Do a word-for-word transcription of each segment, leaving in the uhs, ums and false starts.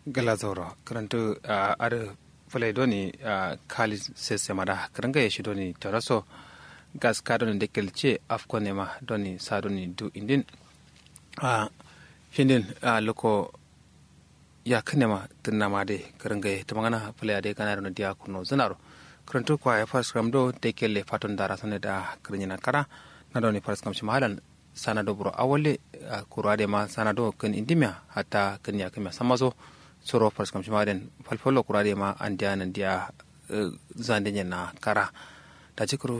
Gla zauro kǝrǝntǝ adǝ fǝlai doni kali sese mada kǝrǝngaye shi doni taraso gaska doni dekkel ce afkonema doni sa doni du indin findin luko yakǝnema tǝnnama dai kǝrǝngaye tǝmangana fǝlai adai gana doni diya kuno zǝnaro kǝrǝntǝ kwaye faskǝram do dekkelle faton dara sone da kǝrǝnyina kara na doni faskǝram shima alan sana do buro awalle kuru adai ma sana do kǝn indimiya hatta kǝn yakǝmiya sammaso suro faskǝram shima aden falfallo kuru adai ma andiya nandiya zande nyenna kara daji kuru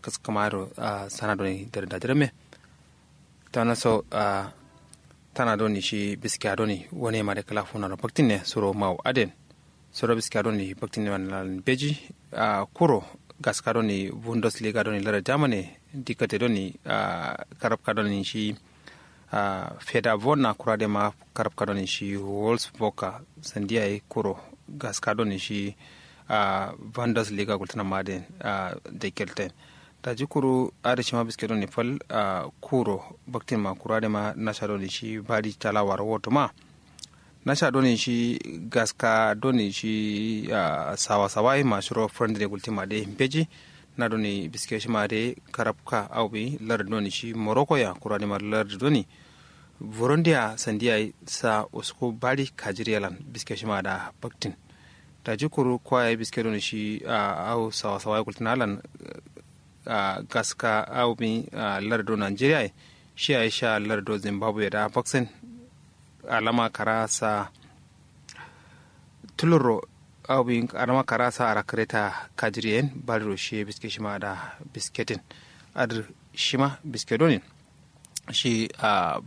kǝskǝma ado sana doni dare dajirame tanaso tana doni shi biskiya doni wane ma dai kala funaro baktin ne suro mawu aden suro biskiya doni baktin ne manalan beji kuro gaska doni bundesliga doni lara jamane dikate doni karabka doni shi feda vonna kura dai ma karabka doni shi wolfsburg sandiya ye kuro gaska doni shi bundesliga gultana ma dai dekkelten daji kuru adǝ shima biske doni fal kuro baktin ma kuru adǝ ma nasha doni shi badi talawaro woto ma nasha doni shi gaska doni shi sawa sawa ye ma shiro friendly gultin ma dai mbeji na doni biske shima dai karabka au bi lardǝ doni shi morocco ya kuru adǝ ma lardǝ doni burundi ya sandiya ye sa usku badi kajiriya lan biske shima da baktin daji kuru kwaye biske doni shi au sawa sawa ye gultana lan gaska au bi lardǝ do nigeria ye shi yayi sha lardǝ do zimbabwe da baksin alama kara sa tulurro au bi alama kara sa arakǝre ta kajiriyen badiro shi ye biske shima da bisketin adǝ shima biske doni shi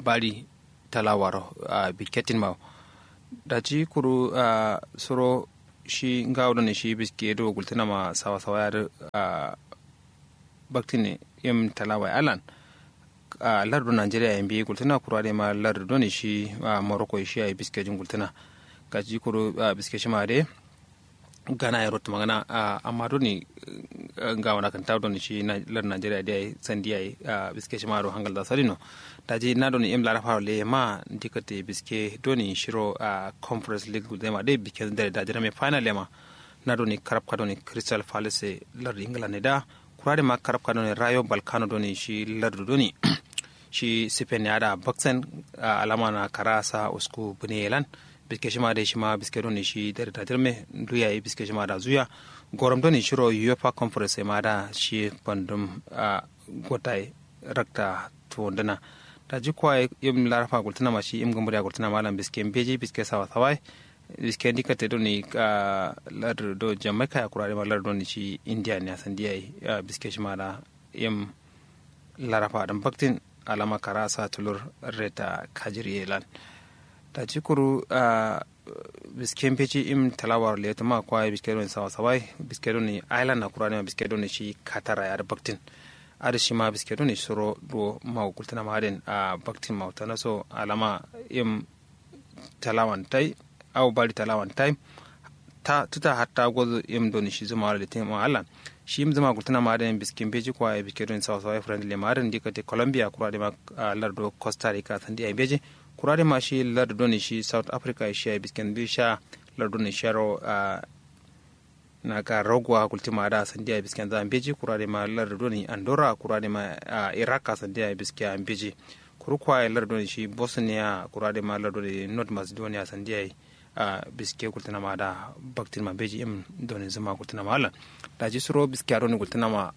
bari talawaro bikketin mawo daji kuru suro shi ngawo done shi biske do gultǝna ma sawa sawa yadǝ baktine yim talawa ye alan lardu nigeria ye mbeyi gultǝna kuru adǝ ma lardu done shi morocco ye shi yayi biskejin gultǝna gaji kuru biske shima dai gana ye rottu magana amma doni ngawo na kǝnta doni shi lar nigeria dai sandi yayi biske shima do hangal da sadino daji na doni im larafaro leye ma ndikate biske doni shiro conference league gulde ma dai biske dare da jirame final ye ma na doni karabka doni crystal palace lardu england ne da kura dai ma karabka doni rayo balkano doni shi lardu doni shi spain ya da baksen alama na kara sa usku bune ye lan biske shima dai shima biske doni shi dare da jirme ndu yayi biske shima da zuya gorom doni shiro uefa conference ma da shi bandum gotai rakta tuwunduna daji kwaye im larafa gultuna ma shi im gumburiya gultuna ma lan biske mbeji biske sawa sawa ye biske ndikate doni lardu do jamaica ya kura dai ma lardu doni shi india ne asandiya ye biske shima da im larafa dǝn baktin alama kara sa tulur reta kajiriye lan daji kuru biske mbeji im talawaro leyetǝma kwaye biske doni sawa sawa ye biske doni island na kura dai ma biske doni shi katara ye adǝ baktin adǝ shima biske doni suro do mawu gultǝna ma adǝ yen baktin mawu tanaso alama im talawan tai au bari talawan tai ta tǝta hatta gozo im doni shi zuma wala litin ma allan shi im zuma gultǝna ma adǝ yen biske mbeji kwaye biske doni sawa sawa ye friendly ma adǝ yen ndikate colombia kura dai ma lardu do costa rica sandi yayi mbeji kura dai ma shi lardu doni shi south africa ye shi yayi biske mbeji sha lardu doni sharo na ka rogo wa gulti ma da sandiya bisken za mbeji kura de ma lar doni andorra kura de ma iraq a sandiya biske a mbeji kuru kwa lar doni shi bosnia kura de ma lar doni north macedonia sandiya a biske gultina ma da baktin ma mbeji im doni zuma gultina ma allan daji suro biske a doni gultina ma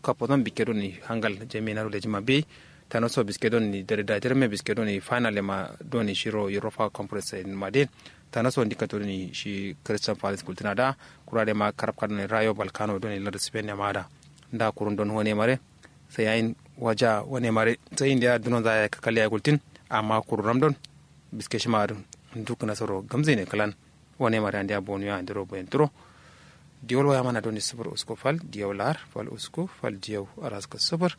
kapo zan bikke doni hangal jami na rule jima bei tano so biske doni dare da jirme biske doni final ma doni shiro europa conference ma de tano so ndika to doni shi crystal palace gultina da kura de ma karabka doni rayo balkano doni lar spain ma da nda kurun don wane mare sai yayin waja wane mare sai inda dunon za ya kakali ya gultin amma kurun ram don biske shima dun duk nasaro gamze ne kalan wane mare andiya bonu ya andiro boyen turo diyol waya mana doni sufur usku fal diyau lar fal usku fal diyau araska sufur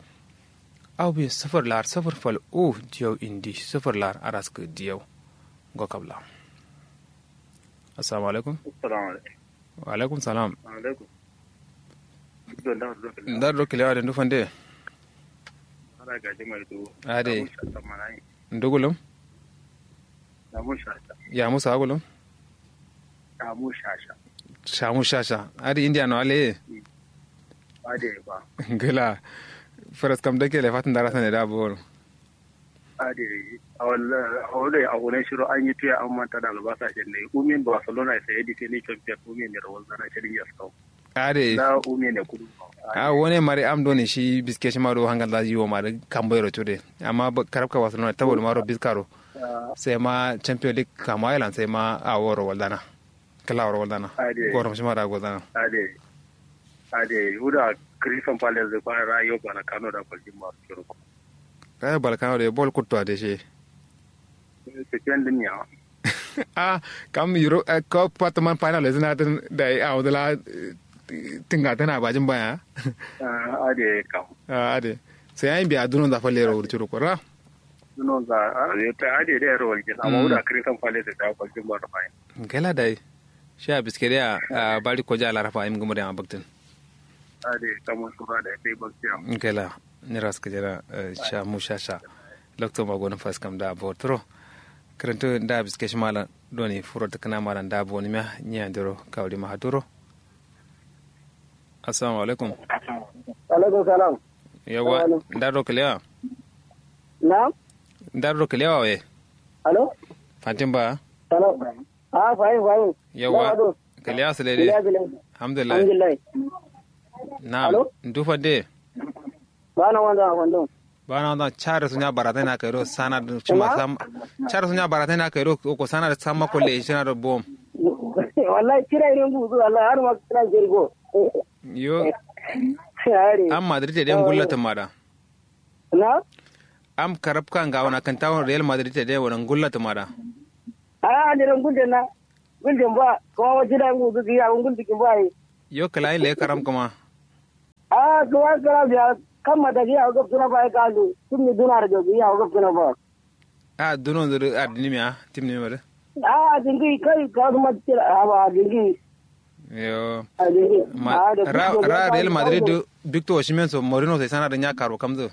au bi sufur lar sufur fal u diyau indi sufur lar araska diyau go kabla assalamu alaikum assalamu alaikum wa alaikum salam alaikum ndar do kilewa de ndufande ade ndugulum ya musa agulum Shamu shasha. Shamu shasha. Adǝ indiya no aleye. Adǝ ye ba. Ngla. Faraskam dake le fatin dara sane da boro. Adǝ ye. Awalla. Awalla. Awone shiro anyi tuya amma tada albasa shenne umin barcelona ye saye defending champion umin ne rawalzana shirin yaskau. Adǝ ye. Da umin ne kudu. A wone mari am done shi biske shima do hangal da yiwo mari kamboyero cude. Amma karabka barcelona tabo do maro biskaro. Sai ma champion league kama island sai ma awo rawalzana. Kǝla wuro walzana. Gorom shima da gozana. Adǝ ye. Adǝ ye wuda. Crystal palace dǝ kwana rayo balkano da kwaljin ma suro. Rayo balkano dǝ bol kutto adǝ she. Spain dǝn ya. Ah, kam euro ko patman final zǝna dǝn da awo dǝla. Tǝnga tana bajin baya. Adǝ ye kam. Adǝ ye. Sai ayin biya dunon za falle ro wurcuro kora. Dunon za. Adǝ ye dai ro walgin amma wuda crystal palace da kwaljin ma ro fayin. Ngela dai. Sha biske dai a bari koja laraba im gumuri ama baktin. Ade kamun sura da sai baktiya. Nkela. Niras kajana. Sha mu sha sha. Lokto magonin faskam da botro. Kirintu da biske shi malam. Doni furo tukuna malam da boni miya. Nyi andiro kawri mahaduro. Assalamu alaikum. Alaikum salam. Yawa. Ndaro kalewa. Na. Ndaro kalewa we. Alo. Fatin ba. Alo. Ah, fahim fahim. Yawa. Kalewa sule de. Alhamdulillah. Na'am. Ndu fande. Bana wanda wanda. Bana wanda. Chare sunya baratai na kairo sana da cima sam. Chare sunya baratai na kairo ko sana da samma kolle shina da bom. Wallahi kira irin buzu wallahi har ma kira jirgo. Yo. Am madrid te de ngulla tumada. Na. Am karabka nga wana kan tawon real madrid te de wana ngulla tumada. Ah, ni ran gulden na. Gulden ba kuma waje da ngu zuki ya guldi kin ba yi. Yo kala le karam kuma. Ah, kuma kala biya. Kan mata biya gab suna ba ya kalu. Tun ni duna da biya gab suna ba. Ah, duno zuru ardini miya tim ni mare. Ah, dingi kai ka kuma tira ba dingi. Yo. Ma ra real madrid victor osimhen so morino sai sana da nya karo kamzo.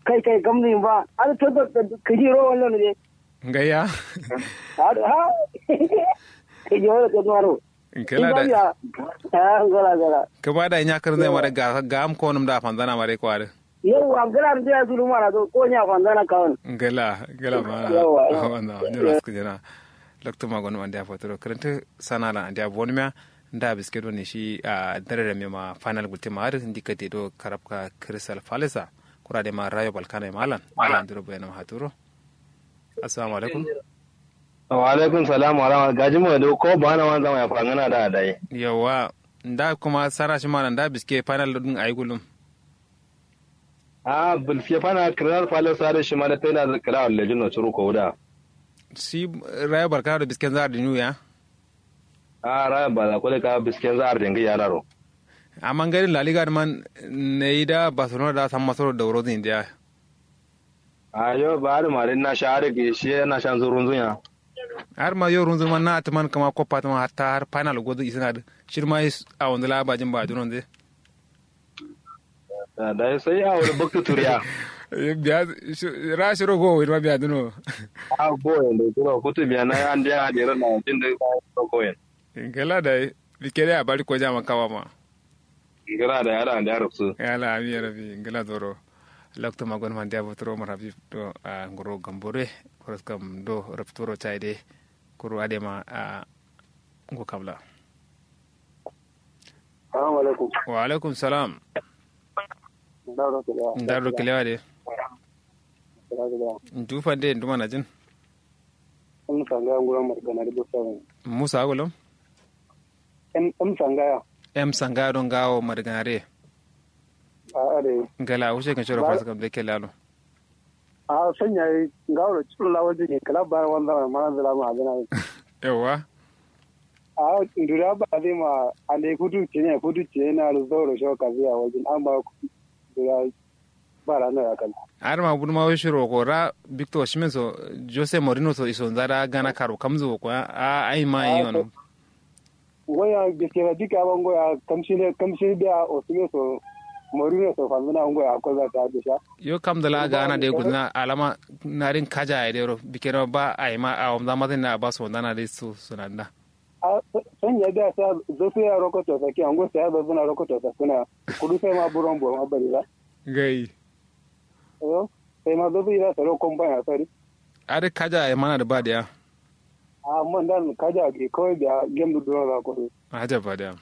Kai kai kamzo ba. An to kaji ro wannan ne. Ngayya. Ha. Ke jawara ke nuwaro. Ngela da. Ngela ngela. Ke ba da nya kar zai mare ga ga am ko num da fanzana mare kware. Yau am gela da ya zulu mara do ko nya fanzana kawon. Ngela ngela ma. Yawa. Wanda ni ras ku jana. Lokto ma gonu ande afotoro karanta sana la ande abonmiya. Nda biske do ne shi a dare da me ma final gulte ma har ndikate do karabka crystal palace. Kura de ma rayo balkana malan malan duro bayana haturo. Assalamu alaikum. Wa alaikum salam wa rahmatullahi gaji mu da ko ba na wanzan ya fangana da dai. Yawa. Nda kuma sara shi mana nda biske final din ayi gulum. A biske final crystal palace sare shi mana tana da kala wallahi no curu ko da. Shi rayo barka da bisken zar dinu ya. A rayo ba ko da ka bisken zar dinga ya raro. Amma garin la liga man ne da barcelona da san masoro da wuro din da. Ayo ba har ma din na sha har ga shi na shan zurun zunya. Har ma yo runzun man na atman kama koppa atman hatta har final gozu isina da shirma is a wanda la bajin ba dunon zai. Da sai a wani bakta turiya. Biya ra shiro go wai ma biya duno. A go yanda kuro kutu biya na an da ya da ran na jin da go yanda. Gala da bike da bari ko jama kawa ma. Ngila da yara da rubsu yala ami rabi ngila zoro. Lokto magon man dia botoro marabi do a ngoro gambore. Koros kam do rubtoro chaide. Kuru adema a ngo kamla. Salamu alaikum. Wa alaikum salam. Ndaro kilewa de. Ndu fande ndu mana jin. Musa ngaya nguro marganari busa. Musa agulum. M sangaya. M sangaya don gawo marganare. A are. Ngala wuce kan shoro fasa kam da ke lalo. A sanya yi gawo da cikin lawaji ne kala bara wanda na mana zala ma abin. Yawa. A dura ba zai ma ande kudu ce ne kudu ce na zauro shoka zai a wajen amma dura. Ba ra no ya kal. Har ma bun ma wai shiro ko ra victor shimen so jose morino so iso nzara gana karo kamzo ko a ai ma yi wano. Waya biske ra dika bango ya kamshi ne kamshi da osime so morino so fanzuna ngo ya ko za ta bisha. Yo kam da la gana de gudna alama narin kaja ya dero bikeno ba ai ma a wamza mazin na ba so ndana de su sunanda. Sanya da sa zosu ya rokoto saki ango sai ya zosu na rokoto sakuna. Kudu sai ma buron buron abari da. Gai. Yo sai ma zosu ira saro kompani a sari. Are kaja ya mana da ba da ya. A man dan kaja ge kawai da game du duro za ko. Aja ba da ya.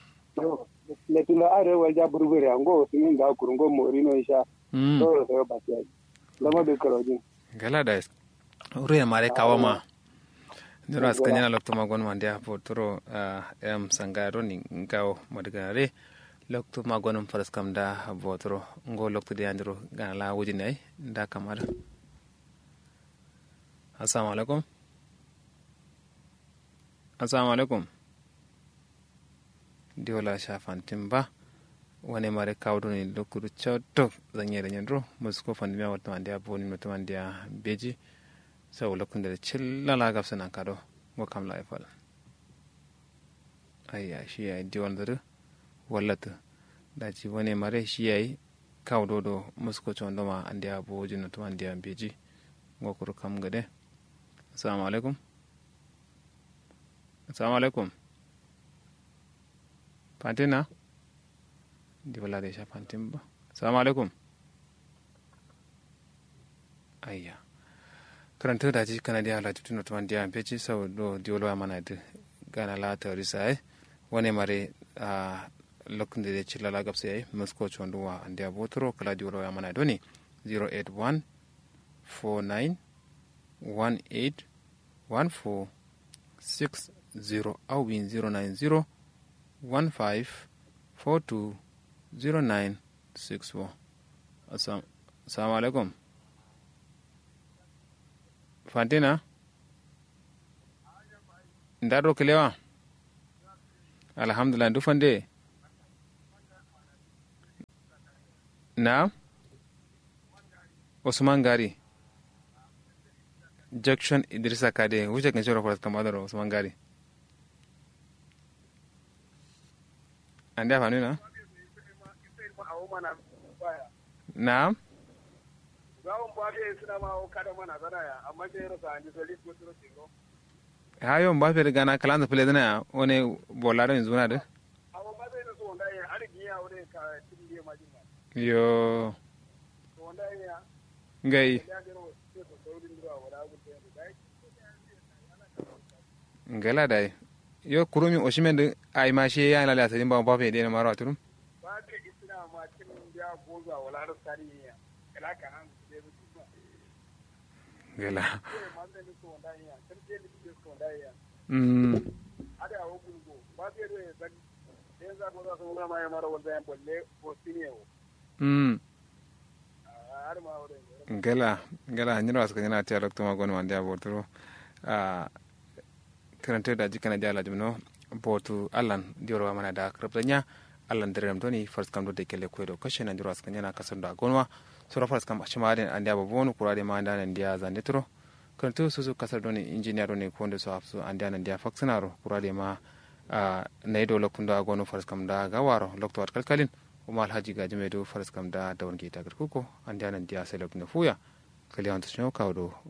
Yo. Letin da are wai ja burbure ango su yin ga kurungo morino isha. Mm. Doro sai ba sai. Lama da karojin. Gala da. Ruye mare kawo ma. Niro askanyana lokto ma gonum andiya botoro. Em sangaya doni ngawo madganare. Lokto ma gonum faraskam da botoro ngo lokto de andiro gana la wujini ai. Da kamar. Assalamu alaikum. Assalamu alaikum. Diwo la sha fantin ba. Wane mare kawo doni lokuru cotto zanye da nyandro musko fandimiya wata mandiya boni wata mandiya beji. Sau lokun da cilla la gafsa nan kado. Ngo kam la ifal. Ayya shi yayi diwon zuru. Wallatu. Daji wane mare shi yayi. Kawo dodo musko condo ma andiya boji wata mandiya beji. Ngo kuru kam gade. Assalamu alaikum. Assalamu alaikum. Fantina. Ndi bala de sha fantin ba. Assalamu alaikum. Ayya. Karanta da ji kana dia la tutuno tuman dia peci sau do diolo amana de. Gana la tarisa ai. Wane mare a lokun de cilla la gabse ai musko condo wa andia botoro kala diolo amana doni. Zero eight one four nine one eight one four six zero au bin zero nine zero one five four two zero nine six four. Assalamu alaikum. Fantina. Ndaro kilewa. Alhamdulillah ndu fande. Naam. Usman gari. Junction idrisa kade wuce kan shiro faras kama daro usman gari. Ande afanu na. Naam. Hayo mbappe de gana kalanza fulezina ya wani bola do inzuna de. Yo. Ngai. Ngala dai. Yo kurumi oshimen de ai ma shi ya lala sadin ba mbappe de na maro aturum. Gela. Mm. Mm. Gela gela nyiro aska nyana tiya lokto ma gonu ande abotoro. Ah. Karanta da jikana da alajim no. Botu allan diwar wa mana da karabta nya. Allan dare ram doni first kam do de kele kwedo kashe nan jiro aska nyana kasar da gonwa. Sura first kam shima den andiya babonu kura de ma anda nan diya zande turo. Karanta su su kasar doni injiniya doni konde so afsu andiya nan diya faksinaro kura de ma. Na ido lokun da gonu first kam da gawaro lokto at kalkalin. Kuma alhaji gaji mai do first kam da da wani gita garkuko andiya nan diya sai lokun da fuya. Kali hantu shino kawo do.